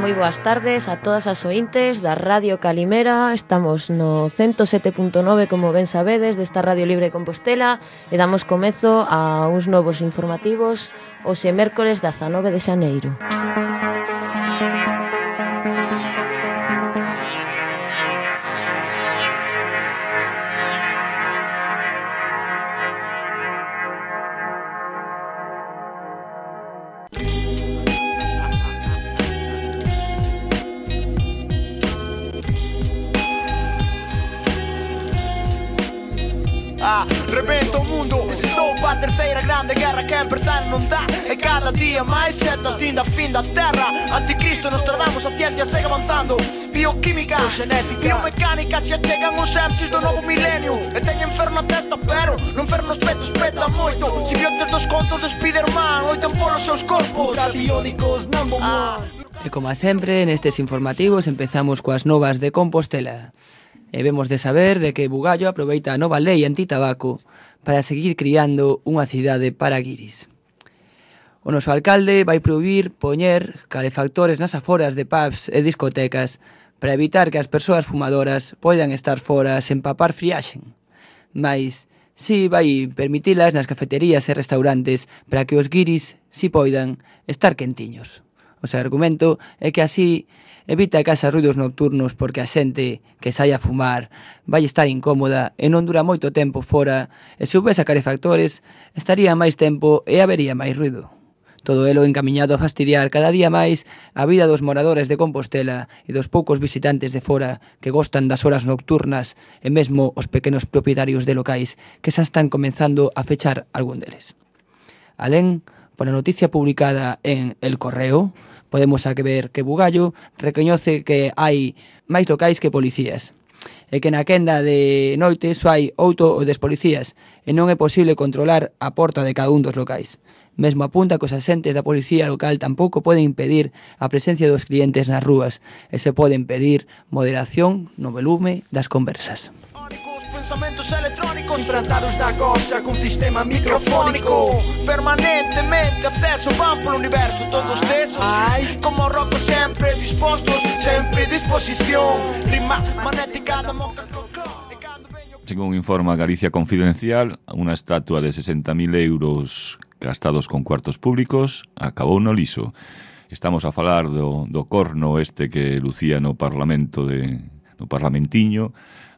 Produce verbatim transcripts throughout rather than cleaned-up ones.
moi boas tardes a todas as ointes da Radio Calimera. Estamos no ciento sete punto nove, como ben sabedes, desta Radio Libre de Compostela, e damos comezo a uns novos informativos hoxe mércores dezanove de xaneiro. Ah, rebenta o mundo, estou pa terceira grande guerra que empezar non dá. E cada día máis setas din da fin da terra. Anticristo, Nostradamus, a ciencia segue avanzando. Bioquímica, genética, biomecánica, xa chegan os M Cs do novo milenio. E teñen fer na testa, pero non fer nos petos peta moito. Simbiontes dos contos de Spiderman loitan polos seus corpos. Radiónicos, number one. E como sempre, nestes informativos empezamos coas novas de Compostela. E vemos de saber de que Bugallo aproveita a nova lei antitabaco para seguir criando unha cidade para guiris. O noso alcalde vai prohibir poñer calefactores nas aforas de pubs e discotecas para evitar que as persoas fumadoras poidan estar fora sen papar friaxen. Mais si vai permitilas nas cafeterías e restaurantes para que os guiris si poidan estar quentiños. O seu argumento é que así evita que haxa ruidos nocturnos porque a xente que sai a fumar vai estar incómoda e non dura moito tempo fora, e se houbese calefactores estaría máis tempo e habería máis ruido. Todo elo encamiñado a fastidiar cada día máis a vida dos moradores de Compostela e dos poucos visitantes de fora que gostan das horas nocturnas, e mesmo os pequenos propietarios de locais que xa están comenzando a fechar algún deles. Alén, pola noticia publicada en El Correo, podemos a que ver que Bugallo recoñece que hai máis locais que policías, e que na quenda de noite só hai oito ou dez policías, e non é posible controlar a porta de cada un dos locais. Mesmo apunta que os axentes da policía local tampouco poden impedir a presencia dos clientes nas rúas, e se poden pedir moderación no volume das conversas. Pensamentos electrónicos implantados na cosa con sistema microfónico. Permanentemente acceso van polo universo. Todos desos, ay, como roco sempre dispostos, sempre disposición. Rima magnética da moca. Según informa Galicia Confidencial, unha estatua de sesenta mil euros gastados con cuartos públicos acabou no liso. Estamos a falar do, do corno este que lucía no Parlamento de, no Parlamentiño,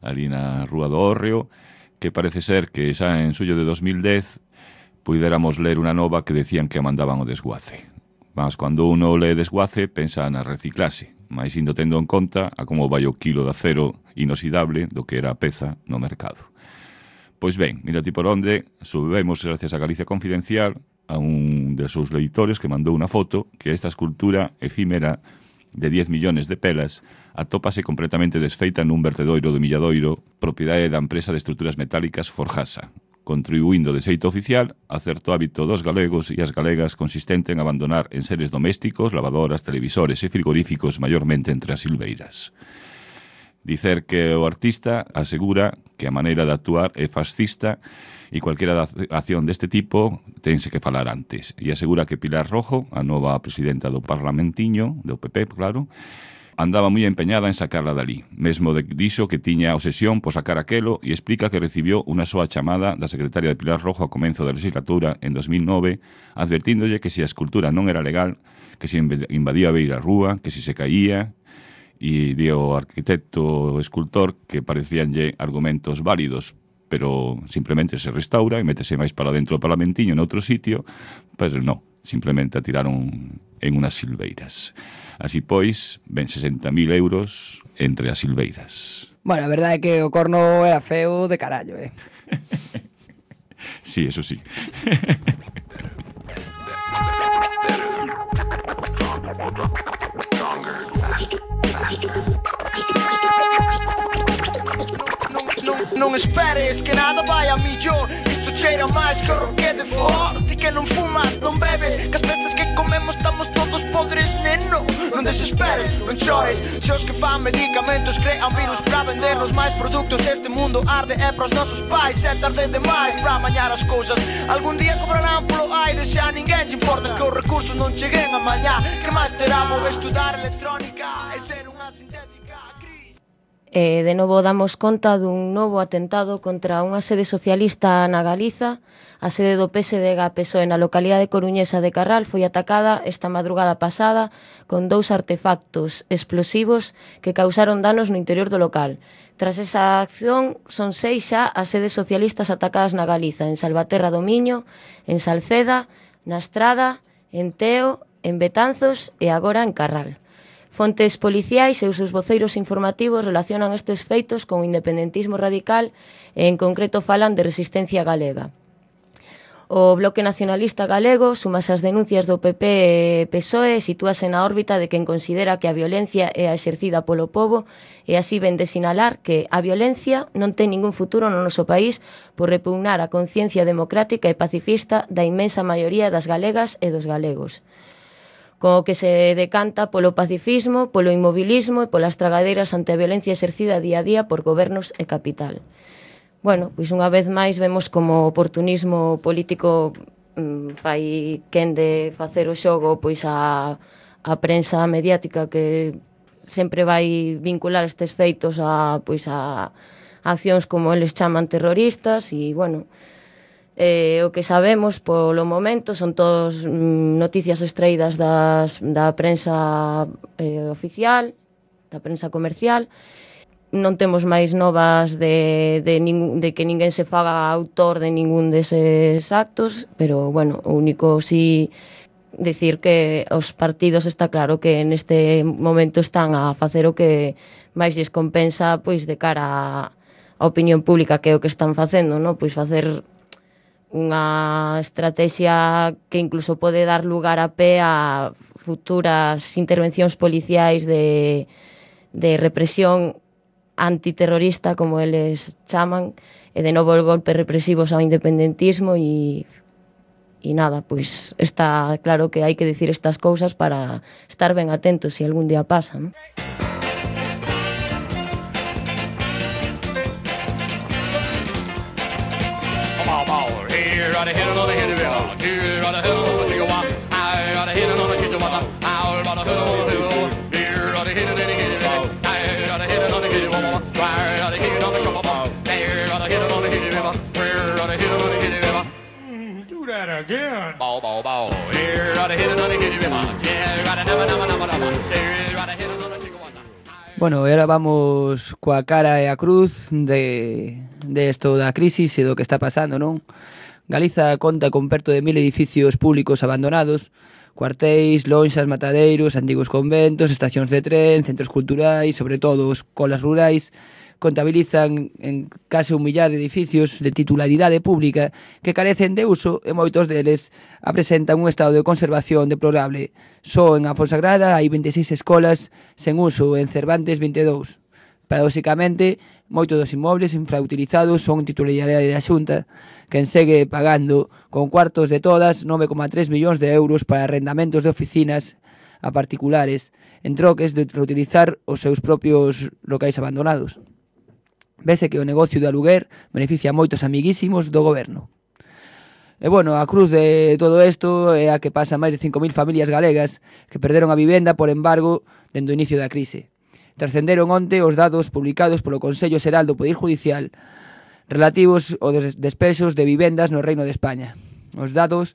ali na Rúa do Hórreo, que parece ser que xa en suyo de dos mil dez puidéramos ler unha nova que decían que a mandaban o desguace. Mas cando uno lee desguace, pensa na reciclase, mais indo tendo en conta a como vai o quilo de acero inoxidable do que era a peza no mercado. Pois ben, mira ti por onde, subimos gracias a Galicia Confidencial a un de seus leitores que mandou unha foto que esta escultura efímera de diez millones de pelas atópase completamente desfeita nun vertedoiro do Milladoiro, propiedade da empresa de estruturas metálicas Forjasa, contribuindo de xeito oficial a certo hábito dos galegos e as galegas consistente en abandonar enseres domésticos, lavadoras, televisores e frigoríficos maiormente entre as silveiras. Dicer que o artista asegura que a maneira de actuar é fascista e cualquiera acción deste tipo tense que falar antes. E asegura que Pilar Rojo, a nova presidenta do Parlamentiño, do P P, claro, andaba moi empeñada en sacarla dali. Mesmo dixo que tiña obsesión por sacar aquelo e explica que recibió unha soa chamada da secretaria de Pilar Rojo a comezo da legislatura en dos mil nove, advertíndolle que se a escultura non era legal, que se invadía a beira rúa, que se se caía, e dio arquitecto escultor que parecíanlle argumentos válidos, pero simplemente se restaura e métese máis para dentro do Parlamentiño en outro sitio, pois non, simplemente a tiraron en unas silveiras. Así pois, ven sesenta mil euros entre as silveiras. Bueno, a verdade é que o corno era feo de carallo, eh? Sí, eso sí. Non, non esperes que nada vai a millor. Isto cheira máis que o roque de for. Ti que non fumas, non bebes, que as veces que comemos estamos todos podres, neno. Non desesperes, non chores. Se os que fan medicamentos crean virus para vendernos máis produtos, este mundo arde é para os nosos pais. É tarde demais para amañar as cousas. Algún día cobrarán polo aire, xa a ninguén lle importa que os recursos non cheguen a mañá. Que máis terá vou estudar electrónica e ser unha sintética gris. E de novo damos conta dun novo atentado contra unha sede socialista na Galiza. A sede do P S D G P S O E na localidade coruñesa de Carral foi atacada esta madrugada pasada con dous artefactos explosivos que causaron danos no interior do local. Tras esa acción, son seis xa as sedes socialistas atacadas na Galiza, en Salvaterra do Miño, en Salceda, na Estrada, en Teo, en Betanzos e agora en Carral. Fontes policiais e os seus voceiros informativos relacionan estes feitos con o independentismo radical e en concreto falan de resistencia galega. O Bloque Nacionalista Galego sumase as denuncias do P P e P S O E e sitúase na órbita de quen considera que a violencia é a exercida polo pobo e así ven de sinalar que a violencia non ten ningún futuro no noso país por repugnar a conciencia democrática e pacifista da inmensa maioría das galegas e dos galegos, co que se decanta polo pacifismo, polo inmobilismo e polas tragadeiras ante a violencia exercida día a día por gobernos e capital. Bueno, pois unha vez máis vemos como o oportunismo político mmm, fai quen de facer o xogo pois a, a prensa mediática que sempre vai vincular estes feitos a, pois a, a accións como eles chaman terroristas e, bueno, eh, o que sabemos polo momento son todos mm, noticias extraídas das, da prensa eh, oficial, da prensa comercial. Non temos máis novas de, de, nin, de que ninguén se faga autor de ningún deses actos, pero, bueno, o único sí decir que os partidos está claro que neste momento están a facer o que máis lles compensa pois de cara á opinión pública, que é o que están facendo, no? Pois facer unha estrategia que incluso pode dar lugar a pé a futuras intervencións policiais de, de represión antiterrorista, como eles chaman, e de novo el golpe represivos ao independentismo e, e nada, pois está claro que hai que decir estas cousas para estar ben atentos se algún día pasa, non? Bueno, e agora vamos coa cara e a cruz de, de esto da crisis e do que está pasando, non? Galiza conta con perto de mil edificios públicos abandonados, cuartéis, lonxas, matadeiros, antigos conventos, estacións de tren, centros culturais, sobre todo escolas rurais. Contabilizan en case un millar de edificios de titularidade pública que carecen de uso e moitos deles apresentan un estado de conservación deplorable. Só en a Fonsagrada hai vinte e seis escolas sen uso e en Cervantes vinte e dous. Paradoxicamente, moitos dos inmobles infrautilizados son titularidade da Xunta, quen segue pagando con cuartos de todas nove coma tres millóns de euros para arrendamentos de oficinas a particulares en troques de reutilizar os seus propios locais abandonados. Vese que o negocio do aluguer beneficia a moitos amiguísimos do goberno. E, bueno, a cruz de todo isto é a que pasa máis de cinco mil familias galegas que perderon a vivenda por embargo dende o inicio da crise. Trascenderon onte os dados publicados polo Consello Xeral do Poder Judicial relativos aos despexos de vivendas no Reino de España. Os dados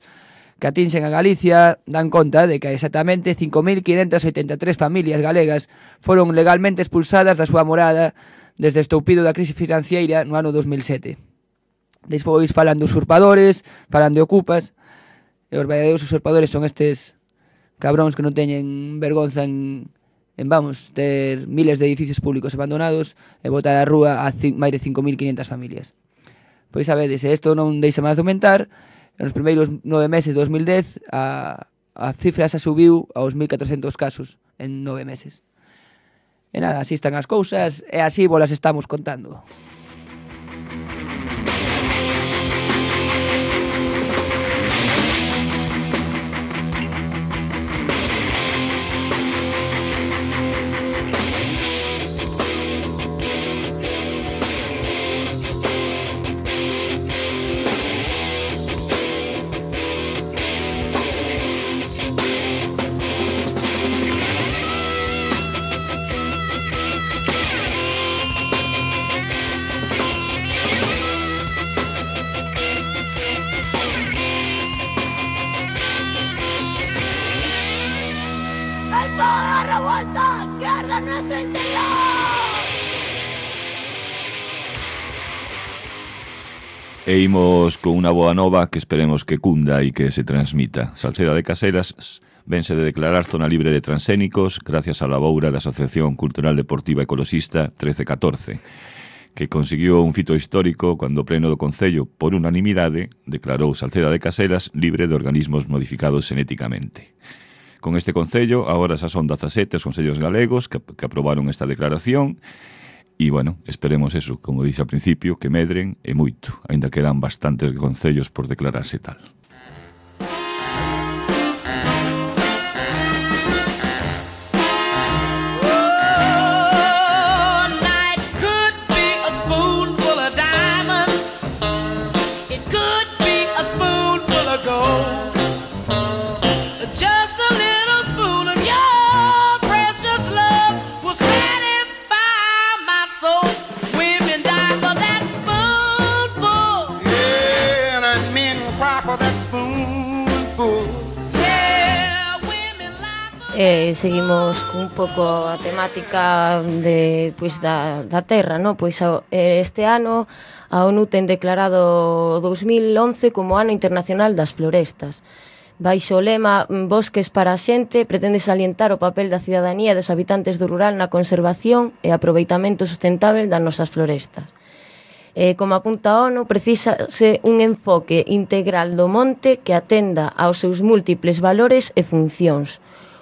que atinxen a Galicia dan conta de que exactamente cinco mil quinhentas oitenta e tres familias galegas foron legalmente expulsadas da súa morada desde o estoupido da crise financiera no ano dos mil sete. Despois falan de usurpadores, falan de ocupas, e os verdadeiros usurpadores son estes cabróns que non teñen vergonza en, en vamos, ter miles de edificios públicos abandonados e botar á rúa a máis de cinco mil quinhentas familias. Pois sabedes, se isto non deixa máis de aumentar, nos primeiros nove meses de dos mil dez a, a cifra xa subiu aos mil catrocentos casos en nove meses. E nada, así están as cousas e así vos las estamos contando. E imos con unha boa nova que esperemos que cunda e que se transmita. Salceda de Caselas vense de declarar zona libre de transxénicos gracias á laboura da Asociación Cultural Deportiva Ecoloxista trece catorce, que consiguió un fito histórico cando o pleno do Concello, por unanimidade, declarou Salceda de Caselas libre de organismos modificados xenéticamente. Con este Concello, agora xa son dezasete os concellos galegos que, que aprobaron esta declaración. E, bueno, esperemos eso, como dixe ao principio, que medren e moito. Ainda quedan bastantes concellos por declararse tal. Eh, seguimos cun pouco a temática de, pois, da, da terra, no? Pois este ano a ONU ten declarado dous mil once como Ano Internacional das Florestas. Baixo o lema Bosques para a xente, pretende salientar o papel da cidadanía e dos habitantes do rural na conservación e aproveitamento sustentável das nosas florestas. Eh, como apunta a ONU, precisase un enfoque integral do monte que atenda aos seus múltiples valores e funcións.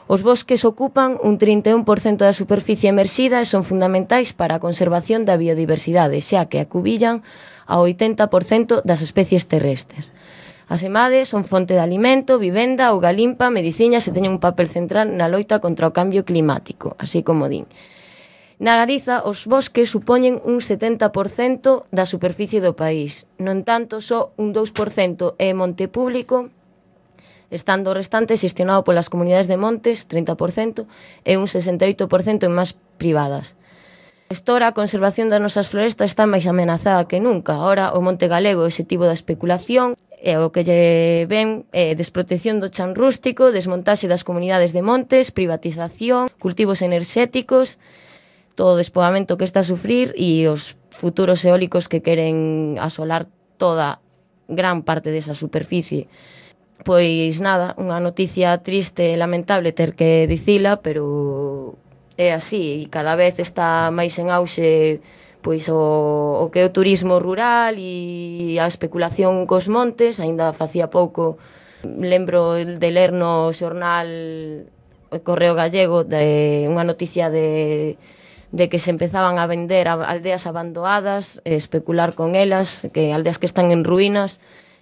Os bosques ocupan un trinta e un por cento da superficie emerxida e son fundamentais para a conservación da biodiversidade, xa que acubillan ao oitenta por cento das especies terrestres. As emades son fonte de alimento, vivenda, auga limpa, mediciñas e teñen un papel central na loita contra o cambio climático, así como din. Na Galiza, os bosques supoñen un setenta por cento da superficie do país. No entanto, só un dous por cento é monte público, estando o restante xestionado polas comunidades de montes, trinta por cento, e un sesenta e oito por cento en máis privadas. Estora, a conservación das nosas florestas está máis amenazada que nunca. Ahora, o monte galego é obxectivo da especulación, e o que lle ven é desprotección do chan rústico, desmontaxe das comunidades de montes, privatización, cultivos enerxéticos, todo o despogamento que está a sufrir e os futuros eólicos que queren asolar toda gran parte desa superficie. Pois nada, unha noticia triste e lamentable ter que dicila, pero é así, e cada vez está máis en auxe pois o, o que é o turismo rural e a especulación cos montes. Aínda facía pouco lembro de ler no xornal o Correo Gallego de unha noticia de, de que se empezaban a vender aldeas abandonadas, especular con elas, que aldeas que están en ruínas.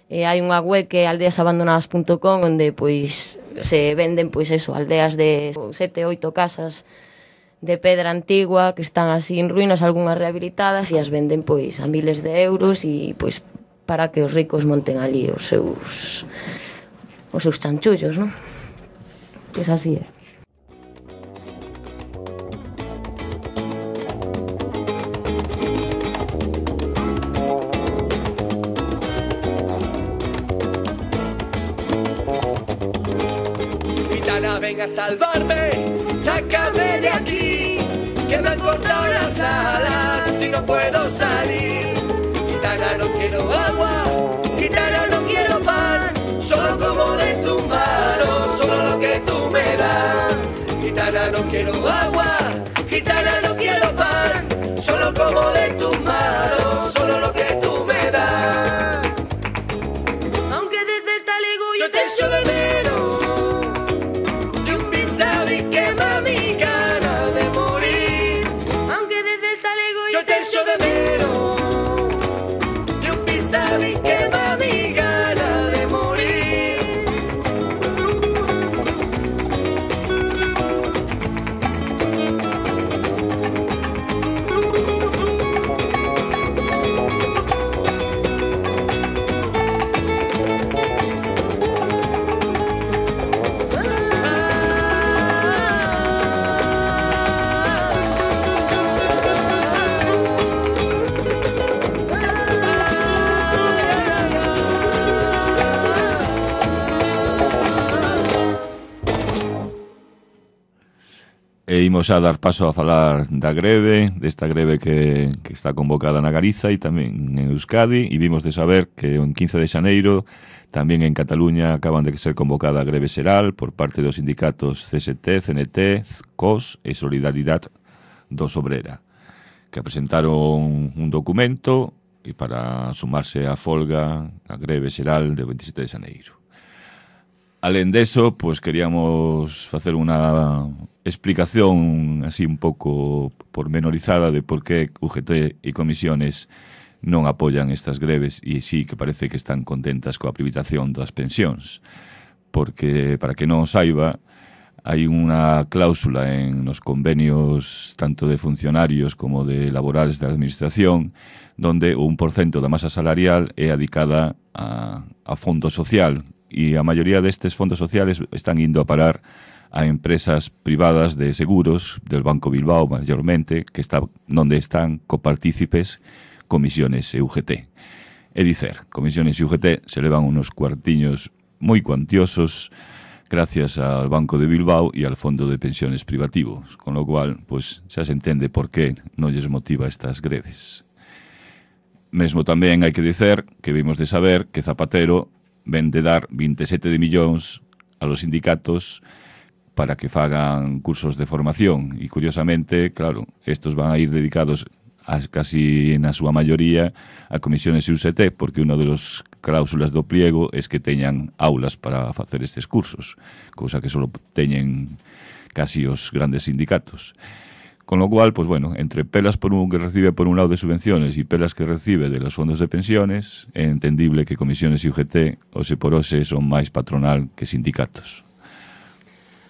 E hai unha web que é aldeas abandonadas punto com onde pois se venden pois eso, aldeas de sete, oito casas de pedra antigua que están así en ruínas, algunhas rehabilitadas, e as venden pois a miles de euros e pois para que os ricos monten ali os seus os seus chanchullos, non? Pois así é. Ven a salvarme, sácame de aquí, que me han cortado las alas y no puedo salir. Gitana, no quiero agua, gitana, no quiero pan, solo como de tu mano, solo lo que tú me das. Gitana, no quiero agua, gitana, no quiero pan, solo como de tu mano, solo lo que tú me das. Aunque desde el talego yo te echo de menos, sabes quema mi gana de morir. Aunque desde el talego yo te echo de menos, yo sabes E imos a dar paso a falar da greve, desta greve que, que está convocada na Galiza e tamén en Euskadi, e vimos de saber que o quince de xaneiro tamén en Cataluña acaban de ser convocada a greve xeral por parte dos sindicatos C S T, C N T, C O S e Solidaridade dos Obrera, que presentaron un documento e para sumarse á folga, a greve xeral do veintisiete de xaneiro. Alén deso, pois queríamos facer unha explicación así un pouco pormenorizada de por que U G T e comisiones non apoian estas greves e sí que parece que están contentas coa privación das pensións. Porque, para que non saiba, hai unha cláusula en nos convenios tanto de funcionarios como de laborales da administración donde o un por cento da masa salarial é adicada a, a fondo social e a maioría destes fondos sociales están indo a parar a empresas privadas de seguros del Banco Bilbao, mayormente, que está onde están copartícipes Comisiones e U G T. É dicer, Comisiones e U G T se levan unos cuartiños moi cuantiosos gracias al Banco de Bilbao e al Fondo de Pensiones Privativos, con lo cual, pues, xa se entende por que non lles motiva estas greves. Mesmo tamén hai que dicer que vimos de saber que Zapatero ven de dar veintisiete de millóns a los sindicatos para que fagan cursos de formación e, curiosamente, claro, estos van a ir dedicados a, casi na súa maioría a comisiones e U G T, porque unha de las cláusulas do pliego es que teñan aulas para facer estes cursos, cousa que só teñen casi os grandes sindicatos. Con lo cual, pues bueno, entre pelas por un que recibe por un lado de subvenciones e pelas que recibe de los fondos de pensiones, é entendible que comisiones e U G T, ose por ose, son máis patronal que sindicatos.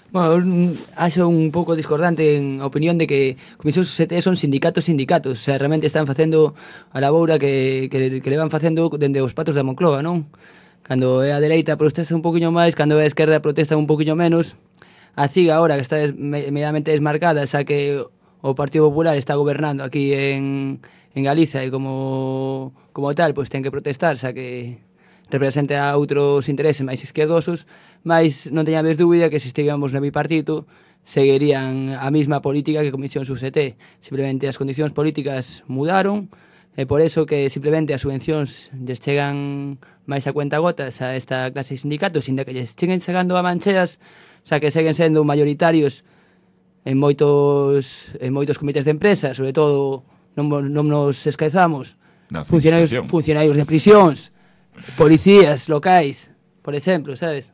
Bueno, acho un pouco discordante en a opinión de que comisións U G T son sindicatos sindicatos, o sea, realmente están facendo a laboura que, que, que le van facendo dende os patos da Moncloa, non? Cando é a dereita protesta un poquinho máis, cando é a esquerda protesta un poquinho menos. A C I G agora, que está medianamente desmarcada, xa que o Partido Popular está gobernando aquí en, en Galiza e como, como tal, pois ten que protestar, xa que representa a outros intereses máis izquierdosos, mas non teñades dúbida que se estivemos no bipartito seguirían a mesma política que Comisións U G T. Simplemente as condicións políticas mudaron e por eso que simplemente as subvencións lles chegan máis a cuenta gotas a esta clase de sindicatos, inda que lles cheguen chegando a mancheas, xa que seguen sendo mayoritarios en moitos en moitos comités de empresa, sobre todo non, non nos esquezamos funcionarios, funcionarios de prisións, policías locais, por exemplo, sabes?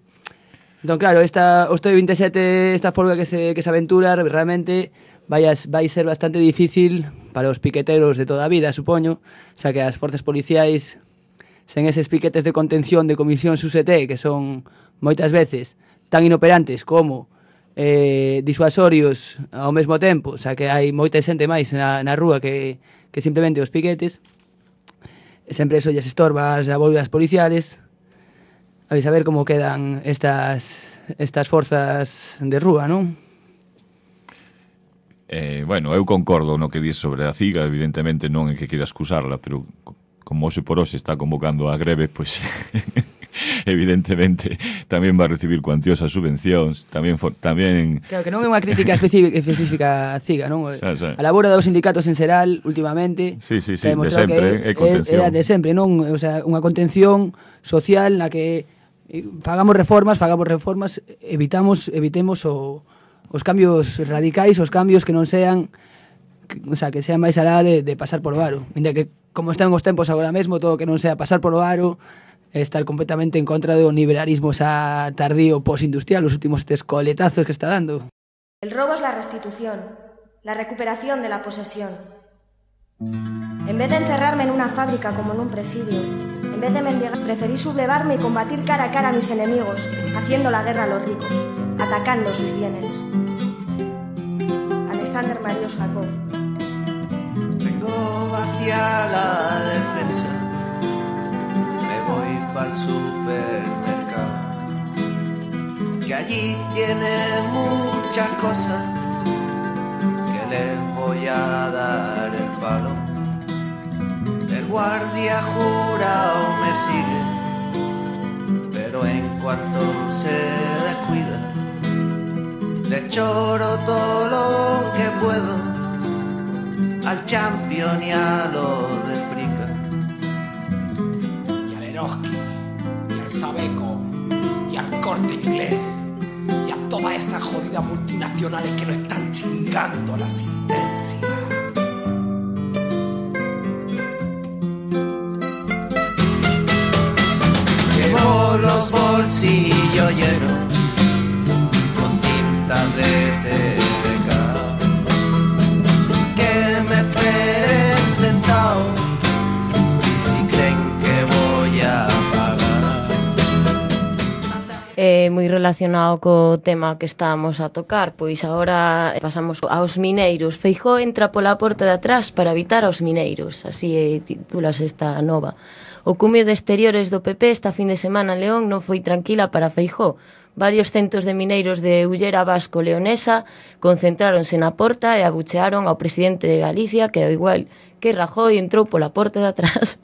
Entón, claro, esta osto de veintisiete, esta folga que se, que se aventura realmente vai, a, vai ser bastante difícil para os piqueteros de toda a vida, supoño, xa que as forzas policiais sen eses piquetes de contención de comisións U G T, que son moitas veces tan inoperantes como eh, disuasorios ao mesmo tempo, xa que hai moita xente máis na, na rúa que, que simplemente os piquetes, sempre eso lles estorba as abolgas policiales. A ver como quedan estas estas forzas de rúa, non? Eh, bueno, eu concordo no que dis sobre a C I G A, evidentemente non é que queira excusarla, pero como hoxe por hoxe está convocando a greve, pois evidentemente tamén va a recibir cuantiosas subvencións, tamén for, tamén Claro, que non é unha crítica específica, específica a C I G A, non? Xa, xa. A labora dos sindicatos en xeral últimamente, sí, sí, sí, de sempre, é contención. É, é de sempre, non? O sea, unha contención social na que fagamos reformas, fagamos reformas, evitamos evitemos o, os cambios radicais, os cambios que non sean que, o sea, que sean máis alá de, de pasar polo aro. Inda que como están os tempos agora mesmo, todo que non sea pasar polo aro, estar completamente en contra do liberalismo xa tardío postindustrial, os últimos estes coletazos que está dando. El robo es la restitución, la recuperación de la posesión. En vez de encerrarme en una fábrica como en un presidio, en vez de mendigar, preferí sublevarme y combatir cara a cara a mis enemigos, haciendo la guerra a los ricos, atacando sus bienes. Alexander Marius Jacob. Vengo hacia la defensa, me voy para el supermercado, que allí tiene muchas cosas, que les voy a dar el palo. El guardia jurado me sigue, pero en cuanto se descuida, Le choro todo lo que puedo al Champion y a lo del Prica. Y al Eroski, y al Sabeco, y al Corte Inglés, y a todas esas jodidas multinacionales que nos están chingando la existencia. Llevo los bolsillos llenos con cintas de T V K, que me esperen sentado si creen que voy a pagar. Eh, moi relacionado co tema que estábamos a tocar, pois agora pasamos aos mineiros. Feijóo entra pola porta de atrás para evitar aos mineiros, así eh, titulas esta nova. O cumio de exteriores do P P esta fin de semana en León non foi tranquila para Feijóo. Varios centos de mineiros de Ullera Vasco Leonesa concentráronse na porta e abuchearon ao presidente de Galicia, que ao igual que Rajoy entrou pola porta de atrás.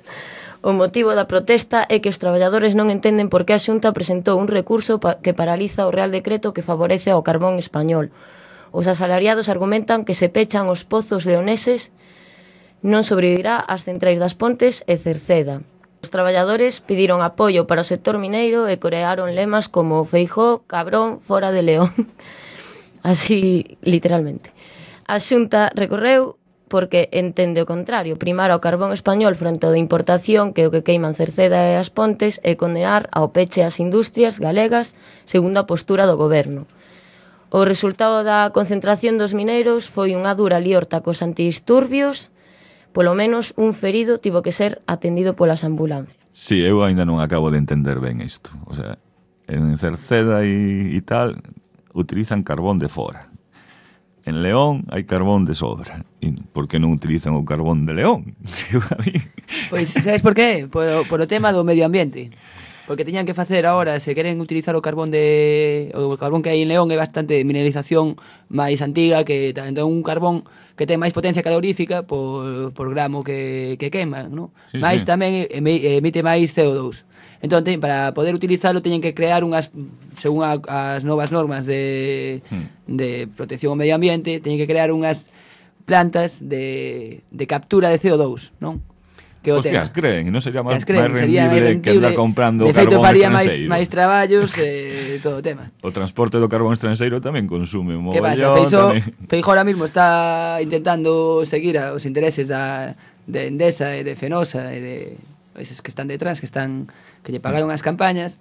O motivo da protesta é que os traballadores non entenden por que a Xunta presentou un recurso pa que paraliza o Real Decreto que favorece ao carbón español. Os asalariados argumentan que se pechan os pozos leoneses non sobrevivirá ás centrais das Pontes e Cerceda. Os traballadores pediron apoio para o sector mineiro e corearon lemas como Feijóo, cabrón, fora de León. Así, literalmente. A Xunta recorreu porque entende o contrario, primar ao carbón español frente ao de importación, que é o que queiman Cerceda e as Pontes, e condenar ao peche as industrias galegas segundo a postura do goberno. O resultado da concentración dos mineiros foi unha dura liorta cos antidisturbios. Polo menos un ferido tivo que ser atendido polas ambulancias. Sí, eu ainda non acabo de entender ben isto. O sea, en Cerceda e, e tal utilizan carbón de fora. En León hai carbón de sobra. E por que non utilizan o carbón de León? Pois, sabes por qué? Por, por o tema do medio ambiente. Porque teñan que facer agora, se queren utilizar o carbón de o carbón que hai en León é bastante mineralización máis antiga, que entón un carbón que ten máis potencia calorífica por, por gramo que, que quema, ¿no? Sí, máis sí. tamén emite máis C O dos. Entón, ten, para poder utilizarlo teñen que crear unhas, según a, as novas normas de, hmm. de protección ao medio ambiente, teñen que crear unhas plantas de, de captura de C O dos, non? Que o Os que as creen, non sería máis rendible que andar comprando de feito, carbón faría máis, estranxeiro. máis traballos e eh, todo o tema. O transporte do carbón estranxeiro tamén consume un Que pasa? mogollón. Feixó, Feixó ahora mismo está intentando seguir os intereses da, de Endesa e de Fenosa e de eses que están detrás, que están que lle pagaron as campañas.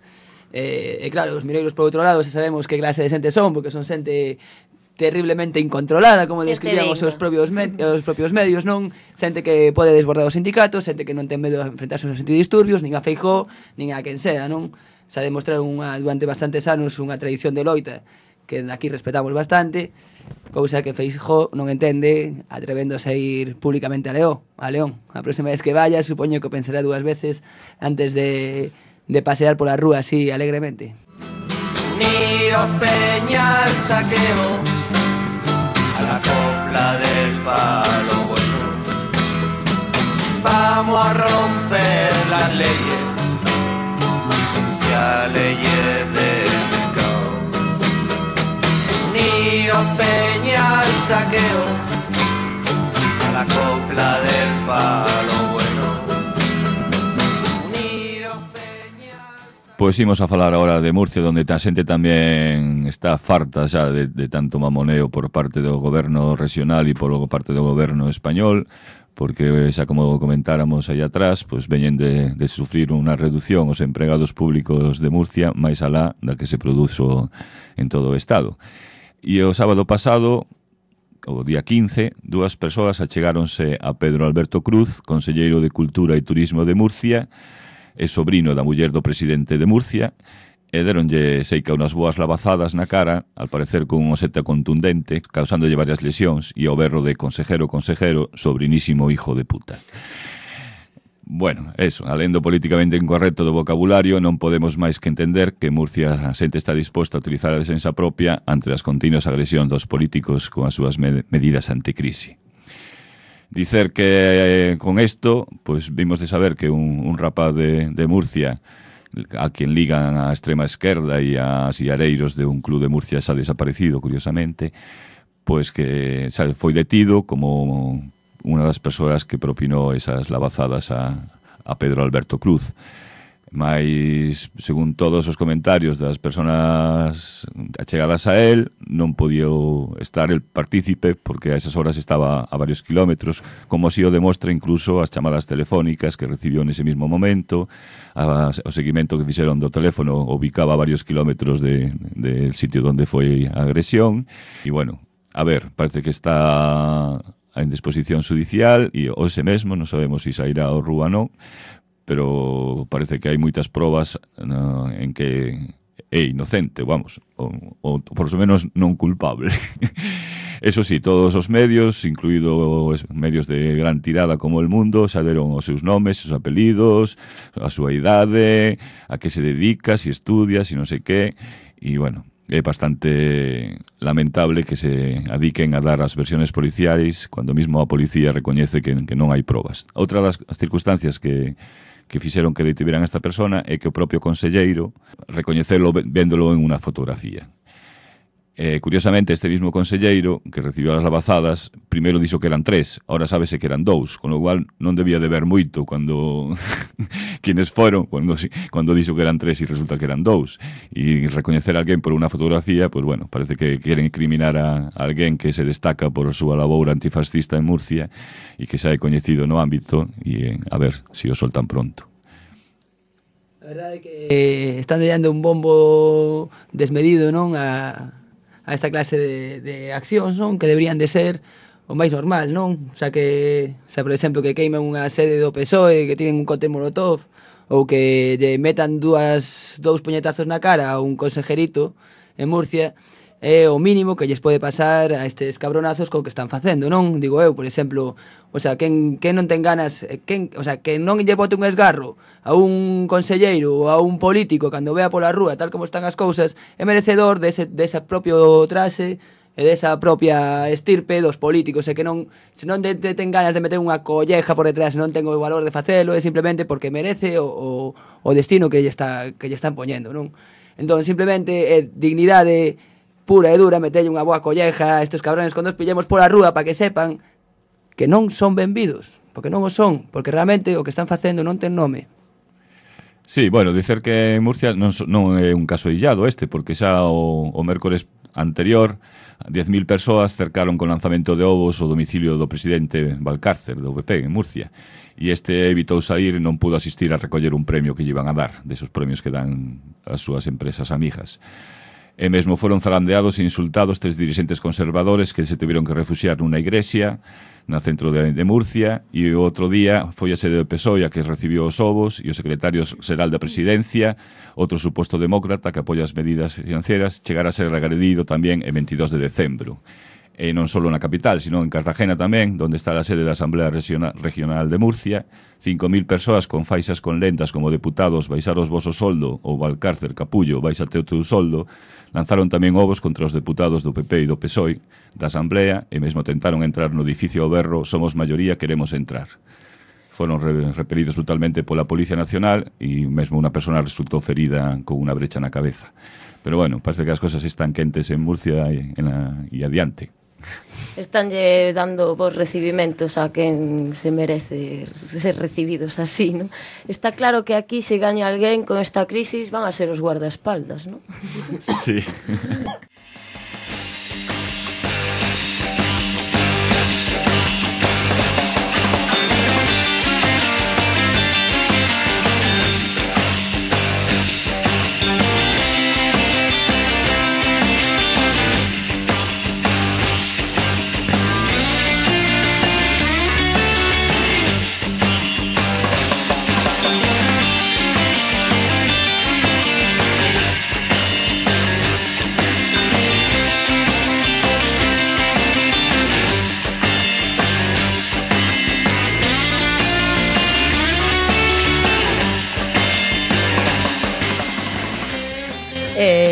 E, e claro, os mineiros por outro lado, se sabemos que clase de xente son, porque son xente terriblemente incontrolada, como describían os seus propios, me os propios medios, non? Xente que pode desbordar os sindicatos, xente que non ten medo de enfrentarse aos antidisturbios, nin a Feijóo, nin a quen sea, non? Se ha demostrado unha, durante bastantes anos unha tradición de loita que aquí respetamos bastante, cousa que Feijóo non entende, atrevéndose a ir públicamente a León, a León. A próxima vez que vaya, supoño que pensará dúas veces antes de, de pasear pola rúa así alegremente. Unidos Peña al saqueo, a la copla del palo bueno. Vamos a romper las leyes sociales y de mercado. Unidos Peña al saqueo, a la copla del palo bueno. Pois imos a falar agora de Murcia, onde a xente tamén está farta xa de, de tanto mamoneo por parte do goberno regional e por parte do goberno español, porque xa como comentáramos aí atrás, pois veñen de, de sufrir unha reducción os empregados públicos de Murcia máis alá da que se produzo en todo o Estado. E o sábado pasado, o día quince, dúas persoas achegáronse a Pedro Alberto Cruz, conselleiro de Cultura e Turismo de Murcia, e sobrino da muller do presidente de Murcia, e deronlle seica unhas boas lavazadas na cara, al parecer con un oseta contundente, causándolle varias lesións, e o berro de consejero, consejero, sobrinísimo hijo de puta. Bueno, eso, alén do políticamente incorrecto do vocabulario, non podemos máis que entender que Murcia a xente está disposta a utilizar a defensa propia ante as continuas agresións dos políticos con as súas med medidas anticrisi. Dicer que eh, con isto, pois vimos de saber que un, un rapaz de, de Murcia a quien ligan a extrema esquerda e a sillareiros de un club de Murcia xa desaparecido, curiosamente, pois que xa foi detido como unha das persoas que propinou esas lavazadas a, a Pedro Alberto Cruz. Mais, según todos os comentarios das persoas achegadas a él, non podía estar el partícipe porque a esas horas estaba a varios kilómetros, como así o demostra incluso as chamadas telefónicas que recibió nese mismo momento, a, o seguimento que fixeron do teléfono ubicaba a varios kilómetros de, del sitio onde foi a agresión. E bueno, a ver, parece que está en disposición judicial e hoxe mesmo, non sabemos se sairá ao rúa non, pero parece que hai moitas probas no, en que é inocente, vamos, ou, ou por lo menos non culpable. Eso sí, todos os medios, incluído os medios de gran tirada como El Mundo, xa deron os seus nomes, os apelidos, a súa idade, a que se dedica, se estudia, se non sei que, e bueno, é bastante lamentable que se adiquen a dar as versiones policiais cando mesmo a policía recoñece que, que non hai probas. Outra das circunstancias que que fixeron que detiveran a esta persona é que o propio conselleiro recoñecelo véndolo en unha fotografía. Eh, curiosamente, este mismo conselleiro que recibiu as lavazadas, primeiro dixo que eran tres, ahora sábese que eran dous, con lo cual non debía de ver moito cando quienes foron, cando, cando dixo que eran tres e resulta que eran dous. E recoñecer a alguén por unha fotografía, pues bueno, parece que queren incriminar a, a alguén que se destaca por a súa laboura antifascista en Murcia e que xa é coñecido no ámbito e a ver se si o soltan pronto. A verdade é que eh, están dando un bombo desmedido, non, a a esta clase de, de accións, non? Que deberían de ser o máis normal, non? O sea, que, o sea, por exemplo, que queimen unha sede do P S O E, que tiren un cóctel molotov, ou que lle metan dúas, dous puñetazos na cara a un consejerito en Murcia, é o mínimo que lles pode pasar a estes cabronazos co que están facendo, non? Digo eu, por exemplo, o sea, quen, quen non ten ganas, quen, o sea, que non lle bote un esgarro a un conselleiro ou a un político cando vea pola rúa tal como están as cousas, é merecedor dese, dese propio traxe e desa propia estirpe dos políticos, e que non, se non de, de ten ganas de meter unha colleja por detrás, se non ten o valor de facelo, é simplemente porque merece o, o, o destino que lle, está, que lle están poñendo, non? Entón, simplemente é dignidade pura e dura metelle unha boa colleja a estes cabrones cando os pillemos pola rúa para que sepan que non son benvidos, porque non o son, porque realmente o que están facendo non ten nome. Sí, bueno, dicer que en Murcia non, non é un caso illado este, porque xa o, o mércores anterior diez mil persoas cercaron con lanzamento de ovos o domicilio do presidente Valcárcer, do V P, en Murcia, e este evitou sair e non pudo asistir a recoller un premio que lle iban a dar, desos premios que dan as súas empresas amigas. E mesmo foron zarandeados e insultados tres dirixentes conservadores que se tiveron que refuxiar nunha igrexa no centro de, de Murcia, e o outro día foi a sede do P S O E a que recibiu os ovos, e o secretario xeral da presidencia, outro suposto demócrata que apoia as medidas financieras, chegara a ser agredido tamén en veintidós de decembro. E non só na capital, sino en Cartagena tamén, onde está a sede da Asamblea Regional de Murcia, cinco mil persoas con faixas con lendas como deputados baixaros voso soldo ou Valcárcer capullo baixate o teu soldo, lanzaron tamén ovos contra os deputados do P P e do P S O E da Asamblea e mesmo tentaron entrar no edificio ao berro "Somos maioría, queremos entrar". Foron repelidos brutalmente pola Policía Nacional e mesmo unha persona resultou ferida con unha brecha na cabeza. Pero bueno, parece que as cosas están quentes en Murcia e, en la, e adiante. Estánlle dando vos recibimentos a quen se merece ser recibidos así, ¿no? Está claro que aquí se gaña alguén con esta crisis van a ser os guardaespaldas, ¿no? Sí.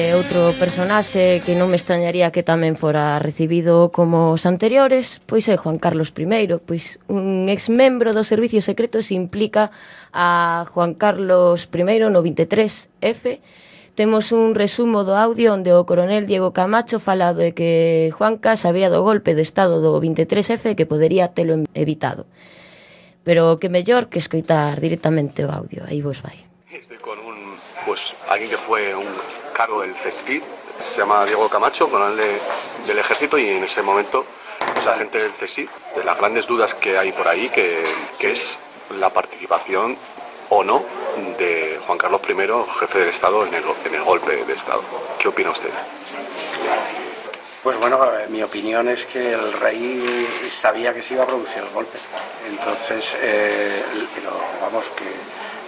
E outro personaxe que non me extrañaría que tamén fora recibido como os anteriores, pois é Juan Carlos primeiro, pois un exmembro do Servicio Secreto se implica a Juan Carlos primeiro no veintitrés F. Temos un resumo do audio onde o coronel Diego Camacho fala de que Juanca sabía do golpe de estado do veintitrés F que podería telo evitado. Pero que mellor que escoitar directamente o audio, aí vos vai. Estoy con un, pues, alguien que fue un cargo del CESFID, se llama Diego Camacho, coronel de, del ejército, y en ese momento, pues, agente del CESID, de las grandes dudas que hay por ahí, que, que es la participación o no de Juan Carlos primero, jefe del Estado, en el, en el golpe de Estado. ¿Qué opina usted? Pues bueno, mi opinión es que el rey sabía que se iba a producir el golpe. Entonces, eh, pero vamos, que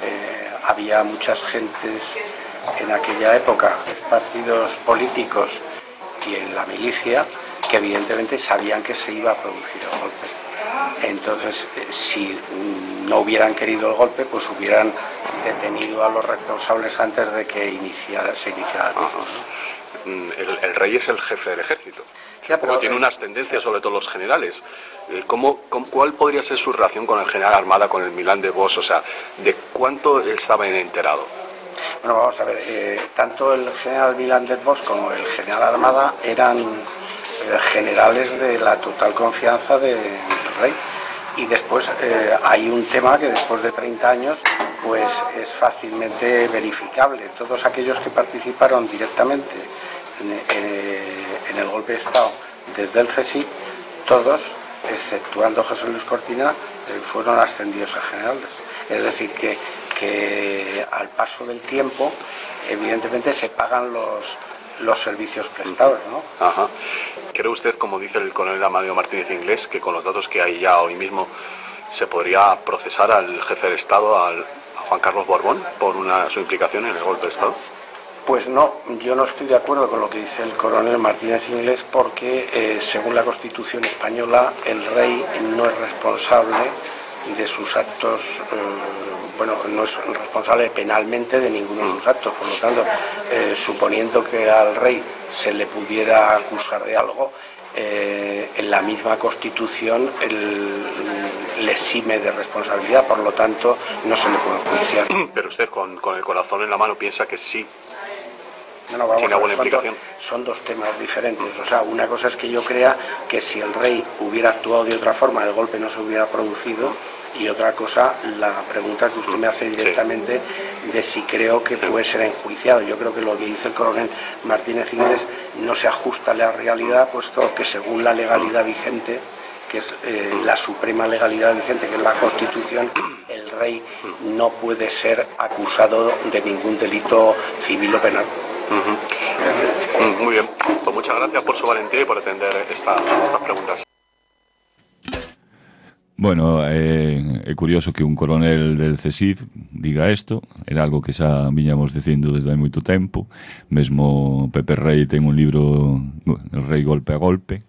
eh, había muchas gentes en aquella época, partidos políticos y en la milicia, que evidentemente sabían que se iba a producir el golpe. Entonces, eh, si no hubieran querido el golpe, pues hubieran detenido a los responsables antes de que iniciara, se iniciara el mismo, ¿no? El, el rey es el jefe del ejército, ya, pero, tiene unas tendencias sobre todo los generales. ¿Cómo, cómo, ¿Cuál podría ser su relación con el general Armada, con el Milán de Bosch? O sea, ¿de cuánto estaba enterado? Bueno, vamos a ver, eh, tanto el general Milán de Bosch como el general Armada eran eh, generales de la total confianza de, del rey. Y después eh, hay un tema que después de treinta años pues es fácilmente verificable. Todos aquellos que participaron directamente en, en, en el golpe de Estado desde el CESID, todos, exceptuando José Luis Cortina, eh, fueron ascendidos a generales. Es decir, que, que al paso del tiempo, evidentemente se pagan los, los servicios prestados, ¿no? Ajá. ¿Cree usted, como dice el coronel Amadeo Martínez Inglés, que con los datos que hay ya hoy mismo se podría procesar al jefe del Estado, al, a Juan Carlos Borbón, por una, su implicación en el golpe de Estado? Pues no, yo no estoy de acuerdo con lo que dice el coronel Martínez Inglés, porque eh, según la Constitución española el rey no es responsable de sus actos, eh, bueno, no es responsable penalmente de ninguno de sus actos, por lo tanto, eh, suponiendo que al rey se le pudiera acusar de algo, eh, en la misma Constitución el, le exime de responsabilidad, por lo tanto no se le puede enjuiciar. Pero usted con, con el corazón en la mano piensa que sí. No, no, vamos ¿Tiene a ver, buena son, implicación? Do, son dos temas diferentes. O sea, una cosa es que yo crea que si el rey hubiera actuado de otra forma, el golpe no se hubiera producido, y otra cosa, la pregunta que usted me hace directamente, sí, de si creo que puede ser enjuiciado. Yo creo que lo que dice el coronel Martínez Inglés no se ajusta a la realidad, puesto que según la legalidad vigente, que es eh, la suprema legalidad vigente, que es la Constitución, el rey no puede ser acusado de ningún delito civil o penal. Uh-huh. Muy bien, pues muchas gracias por su valentía y por atender esta, estas preguntas. Bueno, é, é curioso que un coronel del CESIF diga isto, era algo que xa viñamos dicindo desde hai moito tempo. Mesmo Pepe Rey ten un libro, El Rei Golpe a Golpe,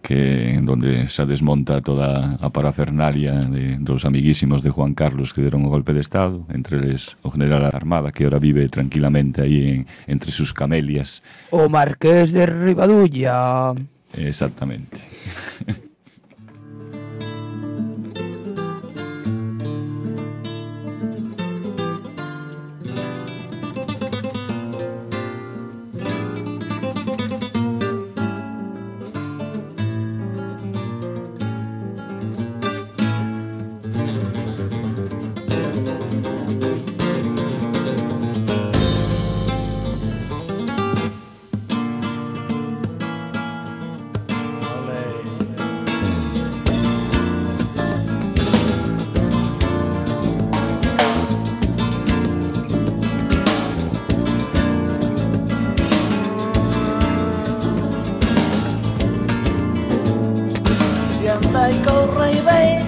que donde se desmonta toda a parafernalia de, dos amiguísimos de Juan Carlos que deron o golpe de Estado, entre eles o general Armada, que ahora vive tranquilamente aí en, entre sus camelias. O Marqués de Ribadulla. Exactamente. Y corre y ve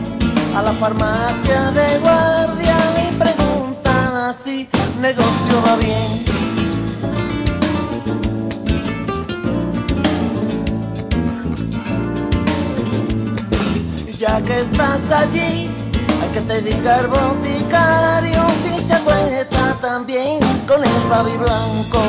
a la farmacia de guardia y preguntan si negocio va bien. Ya que estás allí, hay que te diga el boticario si se acuesta también con el babi blanco.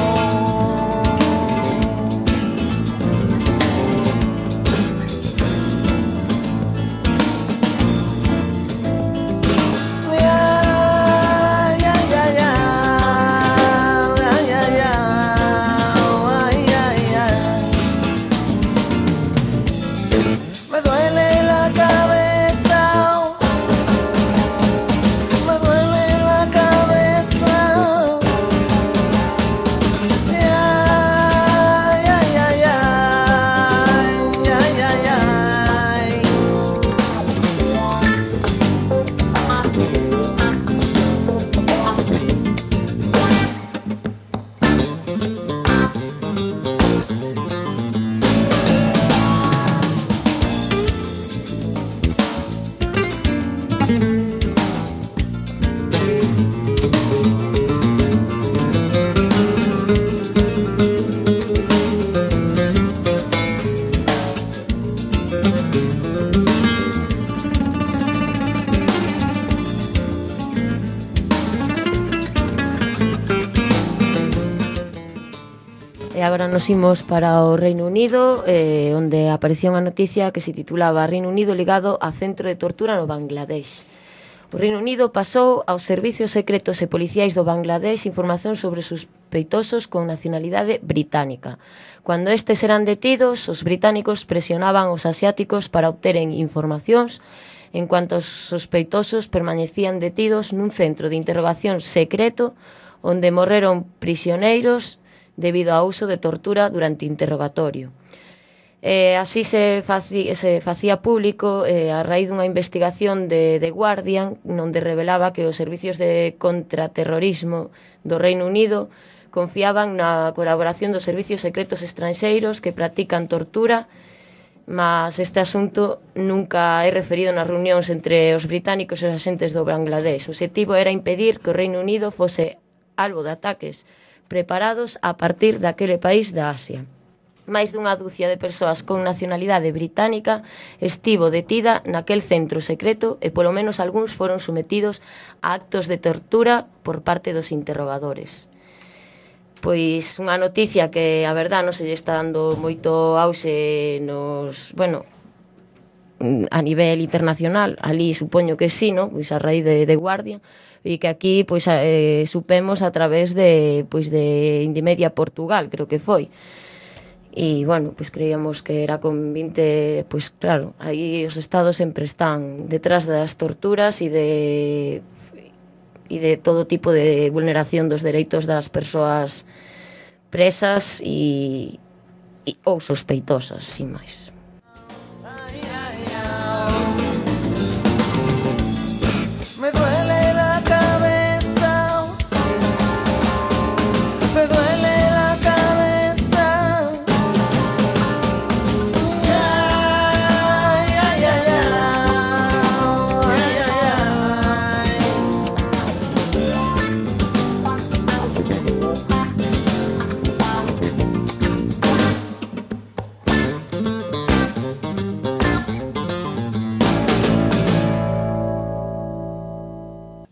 agora nos imos para o Reino Unido, eh, onde aparecía unha noticia que se titulaba Reino Unido ligado a centro de tortura no Bangladesh. O Reino Unido pasou aos servicios secretos e policiais do Bangladesh información sobre sospeitosos con nacionalidade británica. Cando estes eran detidos, os británicos presionaban os asiáticos para obteren informacións, en cuanto os sospeitosos permanecían detidos nun centro de interrogación secreto onde morreron prisioneiros debido ao uso de tortura durante interrogatorio. Eh, así se facía, se facía público eh, a raíz dunha investigación de The Guardian onde revelaba que os servicios de contraterrorismo do Reino Unido confiaban na colaboración dos servicios secretos estranxeiros que practican tortura, mas este asunto nunca é referido nas reunións entre os británicos e os axentes do Bangladesh. O objetivo era impedir que o Reino Unido fose albo de ataques preparados a partir daquele país da Asia. Máis dunha dúcia de persoas con nacionalidade británica estivo detida naquel centro secreto e polo menos algúns foron sometidos a actos de tortura por parte dos interrogadores. Pois unha noticia que a verdad non se lle está dando moito auxe nos, bueno, a nivel internacional, ali supoño que sí, no? Pois a raíz de The Guardian, e que aquí pois eh, supemos a través de pois de Indymedia Portugal, creo que foi. E, bueno, pois creíamos que era con vinte, pois claro, aí os estados sempre están detrás das torturas e de e de todo tipo de vulneración dos dereitos das persoas presas e, e ou sospeitosas, sin máis. Me duele la cabeza, me duele la cabeza. Ay, ay, ay, ay, ay, ay, ay.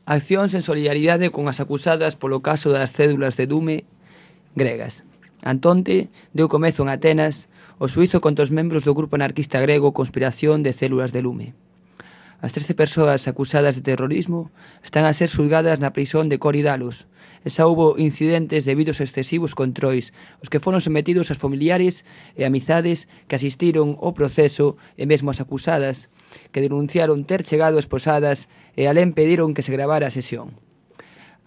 Accións en solidaridade con as acusadas polo caso das cédulas de Dume gregas. Antonte deu comezo en Atenas o xuízo contra os membros do grupo anarquista grego Conspiración de Células de Lume. As trece persoas acusadas de terrorismo están a ser xulgadas na prisión de Korydallos e xa houbo incidentes debido aos excesivos controis os que foron sometidos as familiares e amizades que asistiron ao proceso e mesmo as acusadas que denunciaron ter chegado esposadas e alén pediron que se gravara a sesión.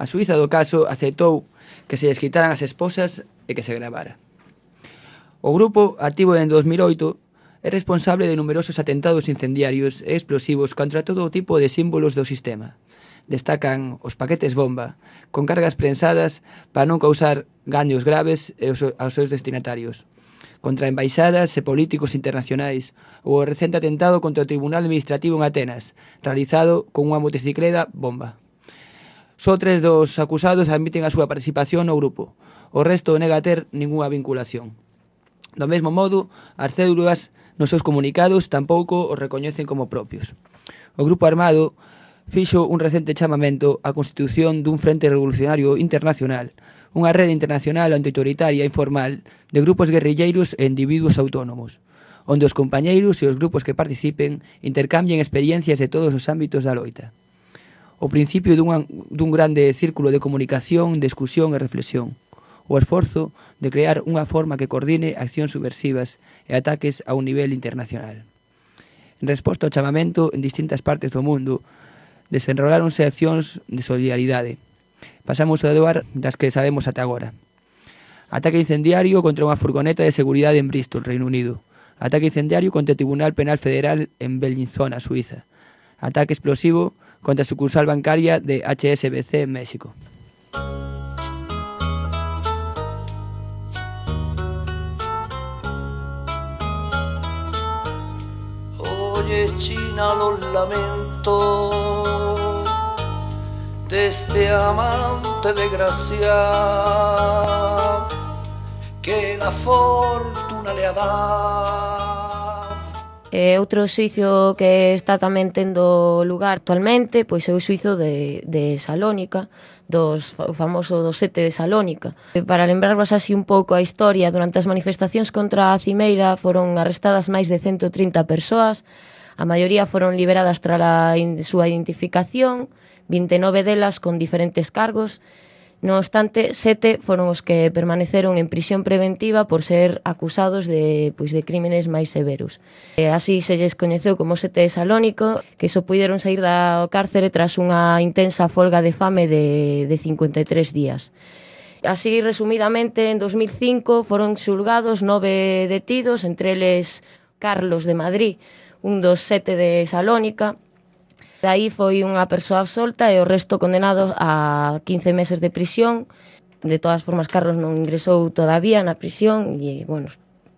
A xuíza do caso aceptou que se lles quitaran as esposas e que se gravara. O grupo, activo en dos mil oito, é responsable de numerosos atentados incendiarios e explosivos contra todo tipo de símbolos do sistema. Destacan os paquetes bomba, con cargas prensadas para non causar gaños graves aos seus destinatarios, contra embaixadas e políticos internacionais, ou o recente atentado contra o Tribunal Administrativo en Atenas, realizado con unha motocicleta bomba. Só tres dos acusados admiten a súa participación no grupo, o resto nega ter ningunha vinculación. Do mesmo modo, as cédulas nos seus comunicados tampouco os recoñecen como propios. O grupo armado fixo un recente chamamento á constitución dun Frente Revolucionario Internacional, unha rede internacional antiautoritaria informal de grupos guerrilleiros e individuos autónomos, onde os compañeiros e os grupos que participen intercambien experiencias de todos os ámbitos da loita. O principio dun, dun grande círculo de comunicación, discusión e reflexión. O esforzo de crear unha forma que coordine accións subversivas e ataques a un nivel internacional. En resposta ao chamamento, en distintas partes do mundo, desenroláronse accións de solidaridade. Pasamos a doar das que sabemos ata agora. Ataque incendiario contra unha furgoneta de seguridade en Bristol, Reino Unido. Ataque incendiario contra o Tribunal Penal Federal en Bellinzona, Suiza. Ataque explosivo contra a sucursal bancaria de H S B C en México. Oye, China, los lamento de este amante desgraciado que la fortuna le ha dado. E outro xuizo que está tamén tendo lugar actualmente pois é o xuizo de, de Salónica, dos, o famoso dos sete de Salónica. E para lembrarvos así un pouco a historia, durante as manifestacións contra a Cimeira foron arrestadas máis de ciento trinta persoas, a maioría foron liberadas tras a in, súa identificación, vinte e nove delas con diferentes cargos. No obstante, sete foron os que permaneceron en prisión preventiva por ser acusados de, pois, de crímenes máis severos. E así se lles coñeceu como sete de Salónico, que só puideron sair da cárcere tras unha intensa folga de fame de, de cincuenta e tres días. Así, resumidamente, en dos mil cinco foron xulgados nove detidos, entre eles Carlos de Madrid, un dos sete de Salónica. De aí foi unha persoa absolta e o resto condenados a quince meses de prisión. De todas formas, Carlos non ingresou todavía na prisión e, bueno,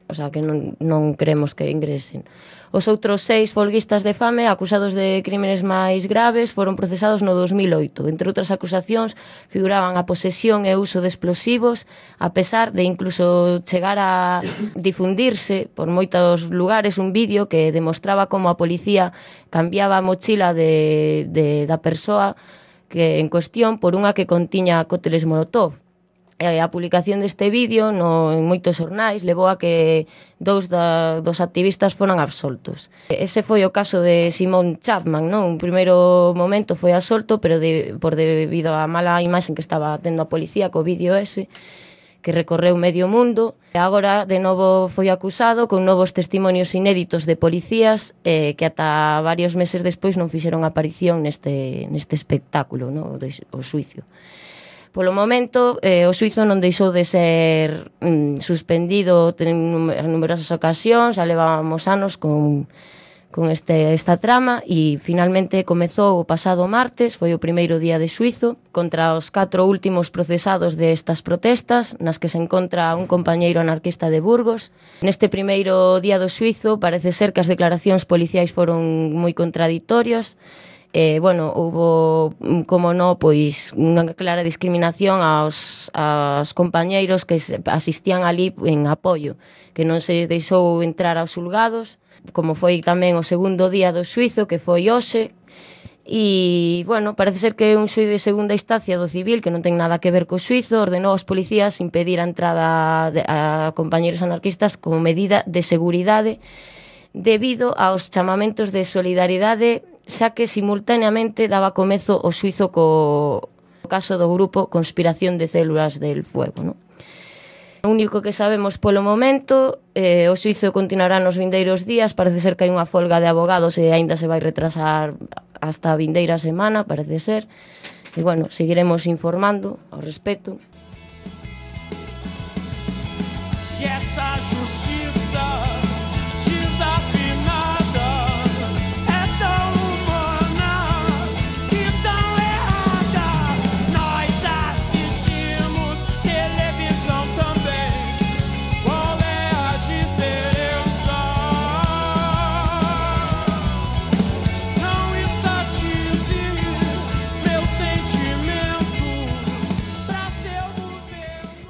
o sea, que non, non queremos que ingresen. Os outros seis folguistas de fame, acusados de crímenes máis graves, foron procesados no dos mil oito. Entre outras acusacións, figuraban a posesión e uso de explosivos, a pesar de incluso chegar a difundirse por moitos lugares un vídeo que demostraba como a policía cambiaba a mochila de, de, da persoa que en cuestión por unha que contiña cócteles Molotov. E a publicación deste vídeo no, en moitos xornais levou a que dous da, dos activistas foran absoltos. Ese foi o caso de Simon Chapman, non? Un primeiro momento foi absolto, pero de, por debido á mala imaxen que estaba tendo a policía co vídeo ese, que recorreu medio mundo. E agora, de novo, foi acusado con novos testimonios inéditos de policías eh, que ata varios meses despois non fixeron aparición neste, neste espectáculo, non? O, de, o xuicio. Polo momento, eh, o xuizo non deixou de ser mm, suspendido en numerosas ocasións, xa levábamos anos con, con este, esta trama e finalmente comezou o pasado martes, foi o primeiro día de xuizo, contra os catro últimos procesados destas protestas, nas que se encontra un compañeiro anarquista de Burgos. Neste primeiro día do xuizo parece ser que as declaracións policiais foron moi contraditorias. Eh, bueno, houbo, como no, pois unha clara discriminación aos, aos compañeiros que asistían ali en apoio, que non se deixou entrar aos xulgados, como foi tamén o segundo día do xuizo, que foi hoxe. E, bueno, parece ser que un xuiz de segunda instancia do civil, que non ten nada que ver co xuizo, ordenou aos policías impedir a entrada de, a compañeiros anarquistas como medida de seguridade debido aos chamamentos de solidaridade, xa que simultaneamente daba comezo o xuizo co caso do grupo Conspiración de Células del Fuego, non? O único que sabemos polo momento, eh, o xuizo continuará nos vindeiros días, parece ser que hai unha folga de abogados e aínda se vai retrasar hasta a vindeira semana, parece ser. E, bueno, seguiremos informando ao respecto. E essa justiça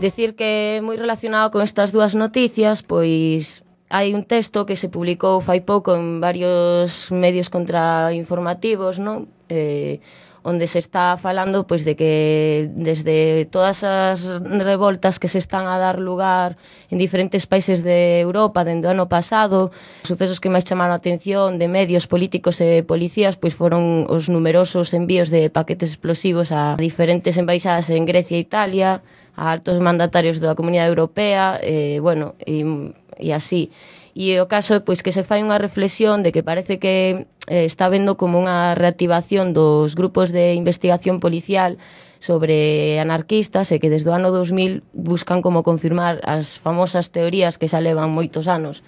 Decir que moi relacionado con estas dúas noticias, pois hai un texto que se publicou fai pouco en varios medios contrainformativos, non? Eh, onde se está falando pois de que desde todas as revoltas que se están a dar lugar en diferentes países de Europa dende o ano pasado, os sucesos que máis chamaron a atención de medios políticos e policías pois foron os numerosos envíos de paquetes explosivos a diferentes embaixadas en Grecia e Italia, a altos mandatarios da Comunidade Europea, e, bueno, e, e así. E o caso é pois, que se fai unha reflexión de que parece que eh, está vendo como unha reactivación dos grupos de investigación policial sobre anarquistas e que desde o ano dos mil buscan como confirmar as famosas teorías que xa levan moitos anos.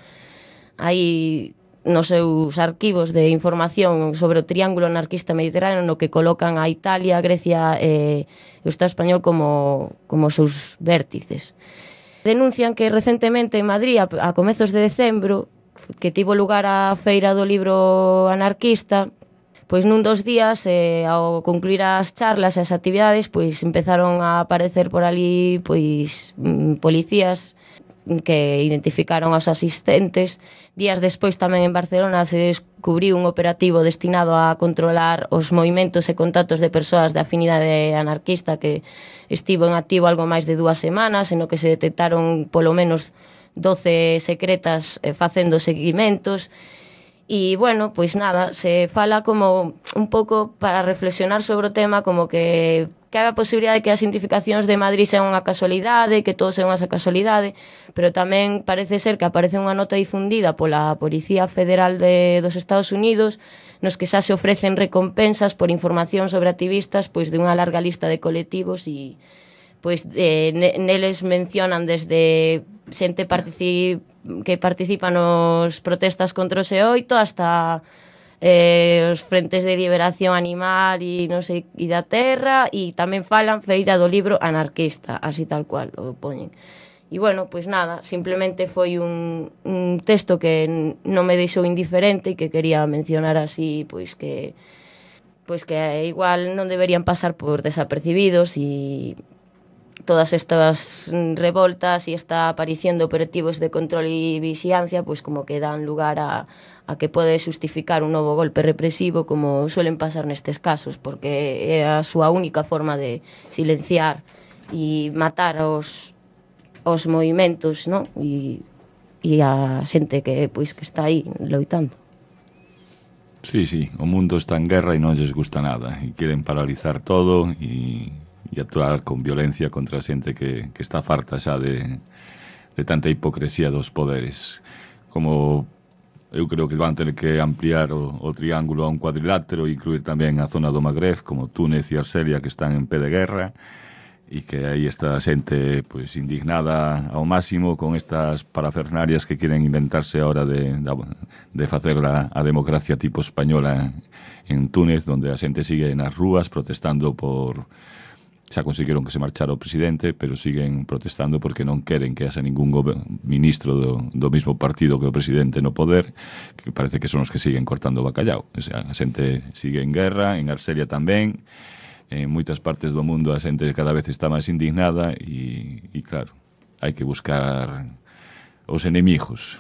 Hai nos seus arquivos de información sobre o triángulo anarquista mediterráneo no que colocan a Italia, Grecia e o Estado español como, como seus vértices. Denuncian que recentemente en Madrid, a, a comezos de decembro, que tivo lugar a Feira do Libro Anarquista, pois nun dos días, eh, ao concluir as charlas e as actividades, pois empezaron a aparecer por ali pois policías que identificaron aos asistentes. Días despois tamén en Barcelona se descubriu un operativo destinado a controlar os movimentos e contactos de persoas de afinidade anarquista que estivo en activo algo máis de dúas semanas, en o que se detectaron polo menos doce secretas eh, facendo seguimentos. E, bueno, pois nada, se fala como un pouco para reflexionar sobre o tema, como que cabe a posibilidade de que as identificacións de Madrid sean unha casualidade, que todo sea unha casualidade, pero tamén parece ser que aparece unha nota difundida pola Policía Federal de, dos Estados Unidos, nos que xa se ofrecen recompensas por información sobre activistas pois de unha larga lista de colectivos e pois eh, neles mencionan desde xente partici que participa nos protestas contra o S E oito hasta eh, os frentes de liberación animal e non sei, e da terra, e tamén falan feira do libro anarquista, así tal cual o poñen. E bueno, pois nada, simplemente foi un, un texto que non me deixou indiferente e que quería mencionar así, pois que pois que igual non deberían pasar por desapercibidos, e todas estas revoltas e esta aparición de operativos de control e vixiancia pois como que dan lugar a, a que pode justificar un novo golpe represivo, como suelen pasar nestes casos, porque é a súa única forma de silenciar e matar os, os movimentos, non? E, e a xente que pois que está aí loitando. Sí, sí, o mundo está en guerra e non lles gusta nada e queren paralizar todo e e actuar con violencia contra a xente que, que está farta xa de, de tanta hipocresía dos poderes. Como eu creo que van ter que ampliar o, o triángulo a un cuadrilátero e incluir tamén a zona do Magreb, como Túnez e Argelia, que están en pé de guerra, e que aí está a xente pues, indignada ao máximo con estas parafernarias que quieren inventarse ahora de, de, de facer a, a democracia tipo española en Túnez, donde a xente sigue nas rúas protestando por... xa conseguiron que se marchara o presidente, pero siguen protestando porque non queren que haxa ningún ministro do, do mismo partido que o presidente no poder, que parece que son os que siguen cortando o bacallao. O sea, a xente sigue en guerra, en Argelia tamén, en moitas partes do mundo a xente cada vez está máis indignada e, e claro, hai que buscar os enemigos.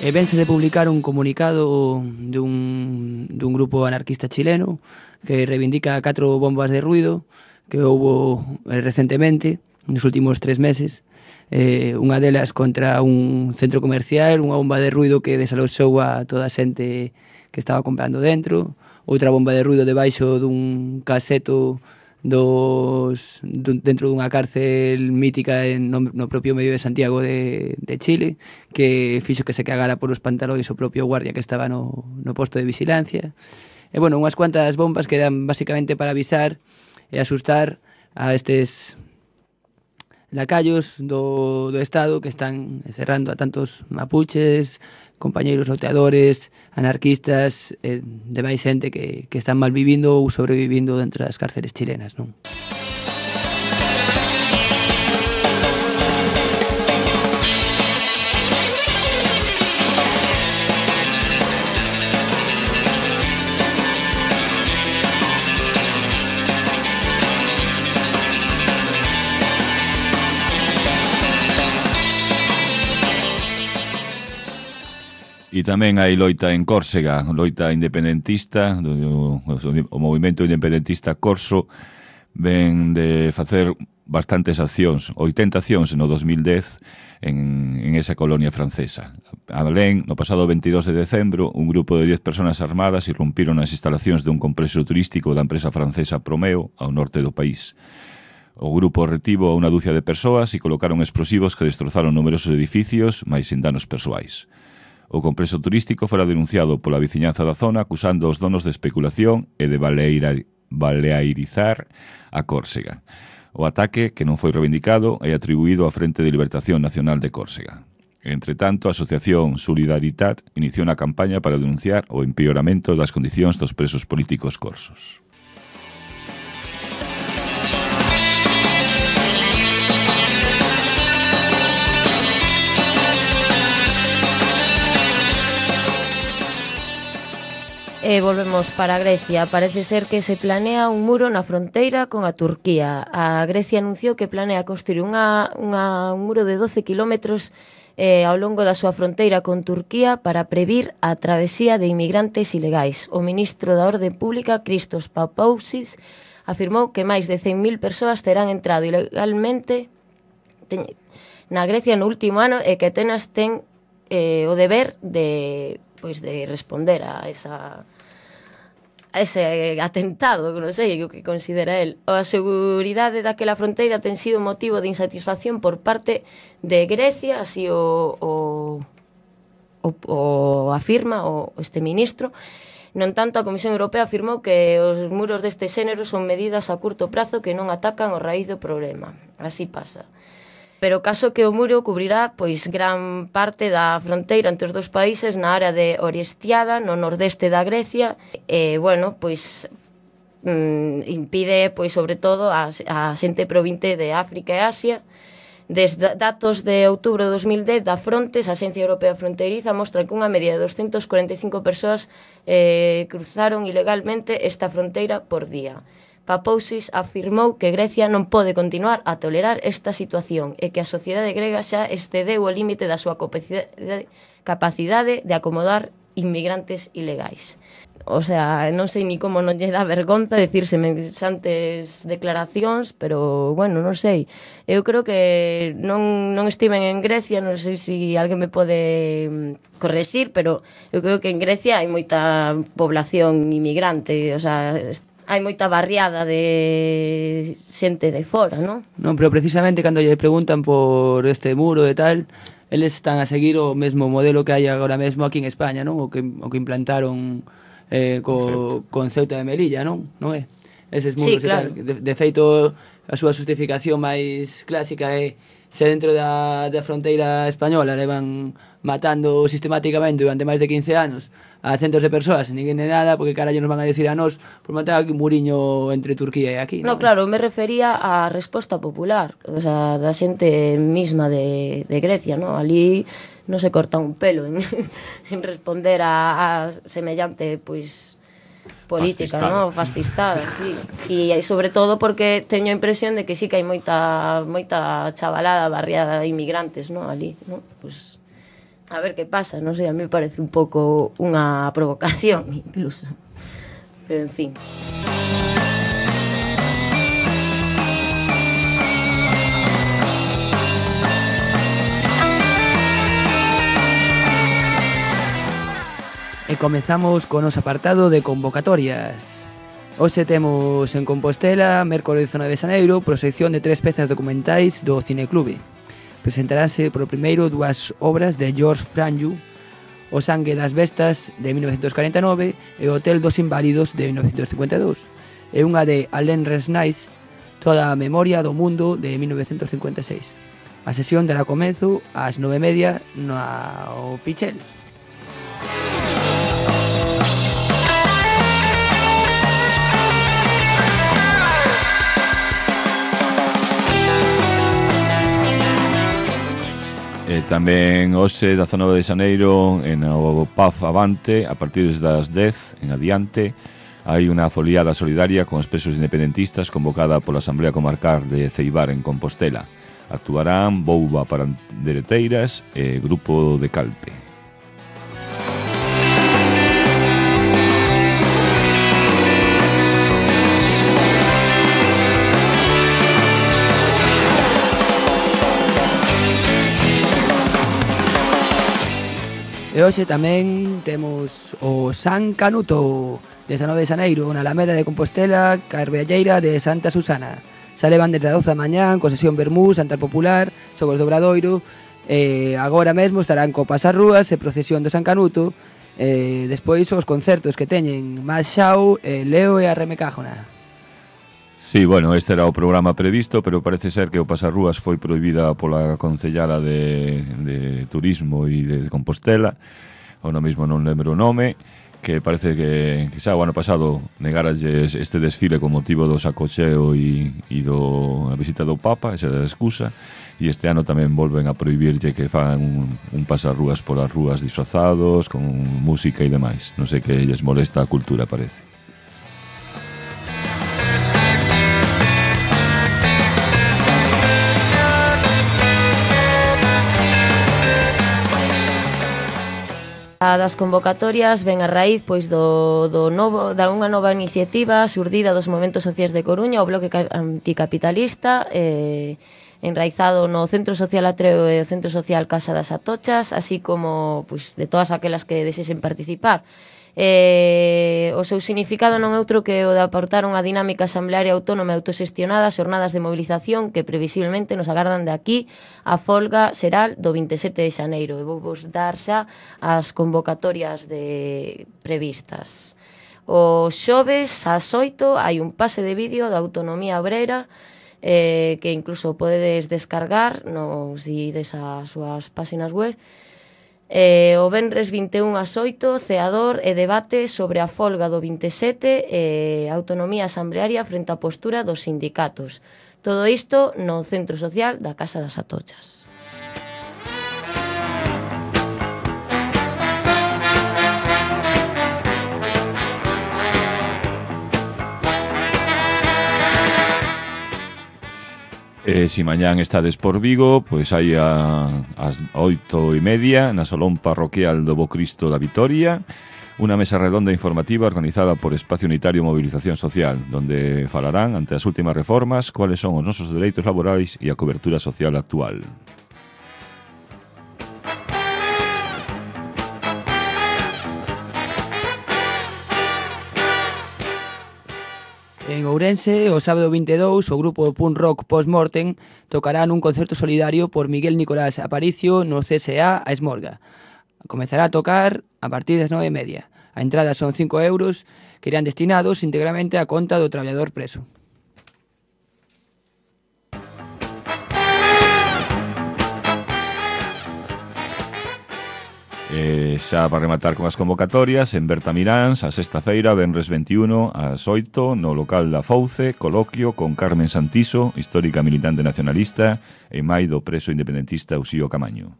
E vense de publicar un comunicado dun, dun grupo anarquista chileno que reivindica catro bombas de ruido que houbo recentemente, nos últimos tres meses, eh, unha delas contra un centro comercial, unha bomba de ruido que desaloxou a toda a xente que estaba comprando dentro, outra bomba de ruido debaixo dun caseto dos dun, dentro dunha cárcel mítica en, no, no propio medio de Santiago de, de Chile, que fixo que se cagara por os pantalóns o propio guardia que estaba no, no posto de vigilancia. E, bueno, unhas cuantas bombas que eran basicamente para avisar e asustar a estes lacayos do, do Estado que están encerrando a tantos mapuches, compañeiros loteadores, anarquistas, e demais xente que, que están mal vivindo ou sobrevivindo dentro das cárceles chilenas, non? E tamén hai loita en Córsega, loita independentista, do, o movimento independentista corso ven de facer bastantes accións, oitenta accións no dos mil dez en, en esa colonia francesa. A Belén, no pasado veintidós de decembro, un grupo de dez personas armadas irrumpiron nas instalacións de un complexo turístico da empresa francesa Promeo, ao norte do país. O grupo retivo a unha dúcia de persoas e colocaron explosivos que destrozaron numerosos edificios, mais sin danos persoais. O complexo turístico fora denunciado pola veciñanza da zona acusando os donos de especulación e de baleira, baleairizar a Córsega. O ataque, que non foi reivindicado, é atribuído á Frente de Libertación Nacional de Córsega. Entre tanto, a Asociación Solidaritat iniciou unha campaña para denunciar o empeoramento das condicións dos presos políticos corsos. E volvemos para Grecia. Parece ser que se planea un muro na fronteira con a Turquía. A Grecia anunciou que planea construir unha, unha, un muro de doce kilómetros eh, ao longo da súa fronteira con Turquía para previr a travesía de inmigrantes ilegais. O ministro da Orde Pública, Christos Papoutsis, afirmou que máis de cen mil persoas terán entrado ilegalmente ten, na Grecia no último ano e que Atenas ten eh, o deber de, pois, de responder a esa... a ese atentado, non sei o que considera el. A seguridade daquela fronteira ten sido motivo de insatisfacción por parte de Grecia, así o, o, o, o afirma o este ministro. Non tanto, a Comisión Europea afirmou que os muros deste xénero son medidas a curto prazo que non atacan o raíz do problema. Así pasa. Pero caso que o muro cubrirá pois gran parte da fronteira entre os dous países na área de Orestiada, no nordeste da Grecia, e, bueno, pois mm, impide, pois, sobre todo, a, a xente provinte de África e Asia. Desde datos de outubro de dos mil dez da Frontex, a Axencia Europea Fronteiriza, mostra que unha media de doscientas cuarenta e cinco persoas eh, cruzaron ilegalmente esta fronteira por día. Papoutsis afirmou que Grecia non pode continuar a tolerar esta situación e que a sociedade grega xa excedeu o límite da súa capacidade de acomodar inmigrantes ilegais. O sea, non sei ni como non lle dá vergonza decir semellantes declaracións, pero, bueno, non sei. Eu creo que non, non estiven en Grecia, non sei se alguén me pode correxir, pero eu creo que en Grecia hai moita población inmigrante, o sea, hai moita barriada de xente de fora, non? Non, pero precisamente cando lle preguntan por este muro e tal, eles están a seguir o mesmo modelo que hai agora mesmo aquí en España, non? O que, o que implantaron eh, co, con Ceuta de Melilla, non? Non é? Eses muros sí, claro. E tal. De, de feito, a súa justificación máis clásica é se dentro da, da fronteira española levan matando sistemáticamente durante máis de quince anos a centos de persoas e ninguén de nada, porque carallo nos van a decir a nós por matar aquí un muriño entre Turquía e aquí, non? No, claro, me refería á resposta popular, o sea, da xente misma de, de Grecia, non? Ali non se corta un pelo en, en responder a, a semellante, pois, política, fascistada, non? Fascistada, sí. E sobre todo porque teño a impresión de que sí que hai moita moita chavalada barriada de inmigrantes, non? Ali, non? Pois a ver que pasa, non sei, a mí me parece un pouco unha provocación incluso. Pero en fin. E comezamos con os apartado de convocatorias. Hoxe temos en Compostela, mércores dezanoveno de xaneiro, proxección de tres pezas documentais do Cineclube. Presentaránse por primeiro dúas obras de George Franju, O sangue das bestas, de mil novecientos cuarenta e nove, e O hotel dos inválidos, de mil novecientos cincuenta e dous, e unha de Alain Resnais, Toda a memoria do mundo, de mil novecientos cincuenta e seis. A sesión dará comezo ás nove e media no Pichel. E tamén hoxe, dezanove de xaneiro, en o P A F Avante, a partir das dez en adiante, hai unha foliada solidaria con os presos independentistas convocada pola Asamblea Comarcal de Ceibar en Compostela. Actuarán Bouba Pandereteiras e Grupo de Calpe. E hoxe tamén temos o San Canuto, dezanove de xaneiro, na Alameda de Compostela, Carballeira de Santa Susana. Xa levan desde a doce da mañán, con sesión vermú, Santar Popular, xogos de Obradoiro, Eh, agora mesmo estarán co Pasarrúas e procesión do San Canuto. Eh, despois os concertos que teñen Más Xau, eh, Leo e a Remecájona. Sí, bueno, este era o programa previsto, pero parece ser que o Pasarrúas foi prohibida pola concellala de, de Turismo e de Compostela, ou no mesmo non lembro o nome, que parece que, que xa o ano pasado negaralles este desfile con motivo do sacocheo e, e do a visita do Papa, esa é a excusa, e este ano tamén volven a prohibirlle que fan un, un pasarrúas polas rúas disfrazados, con música e demais. Non sei que lles molesta a cultura, parece. A das convocatorias ven a raíz pois do, do novo, da unha nova iniciativa xurdida dos movementos sociais de Coruña, o Bloque Anticapitalista, eh, enraizado no Centro Social Atreo e o Centro Social Casa das Atochas, así como pois, de todas aquelas que desexen participar. Eh, o seu significado non é outro que o de aportar unha dinámica asamblearia autónoma e autoxestionada, xornadas de movilización que previsiblemente nos agardan de aquí a folga xeral do vinte e sete de xaneiro. E vou vos dar xa as convocatorias de previstas. O xoves ás oito hai un pase de vídeo da Autonomía Obrera, eh, que incluso podedes descargar nos ides ás súas páxinas web. Eh, o venres vinte e un ás oito, ceador e debate sobre a folga do vinte e sete e eh, autonomía asamblearia frente á postura dos sindicatos. Todo isto no Centro Social da Casa das Atochas. E se mañán estades por Vigo, pois hai a, as oito e media na Salón Parroquial do Bo Cristo da Vitoria unha mesa redonda informativa organizada por Espacio Unitario Movilización Social, donde falarán ante as últimas reformas cuáles son os nosos dereitos laborais e a cobertura social actual. En Ourense, o sábado vinte e dous, o grupo de punk rock Post-Mortem tocará nun concerto solidario por Miguel Nicolás Aparicio no C S A a Esmorga. Comezará a tocar a partir das nove e media. A entrada son cinco euros que irán destinados íntegramente á conta do traballador preso. E xa para rematar con as convocatorias, en Bertamiráns, a sexta feira, venres vinte e un, ás oito, no local da Fouce, coloquio con Carmen Santiso, histórica militante nacionalista, e mai do preso independentista Uxío Camaño.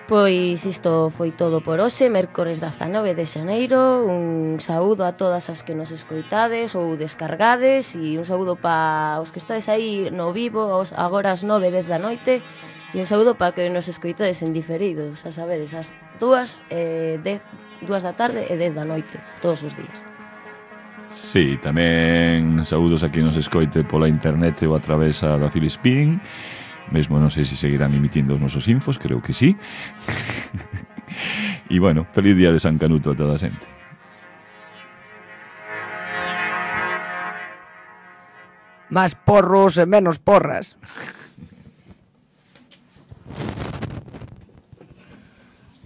Pois isto foi todo por hoxe, mércores dezanove de xaneiro. Un saúdo a todas as que nos escoitades ou descargades, e un saúdo para os que estades aí no vivo agora ás nove, dez da noite, e un saúdo para que nos escoitades en diferido, xa sabedes, ás dúas, eh, dez, dúas da tarde e dez da noite, todos os días. Sí, tamén saúdos a quien nos escoite pola internet ou a travesa da Filispín. Mesmo non sei se seguirán emitindo os nosos infos, creo que sí. E bueno, feliz día de San Canuto a toda a xente. Más porros e menos porras.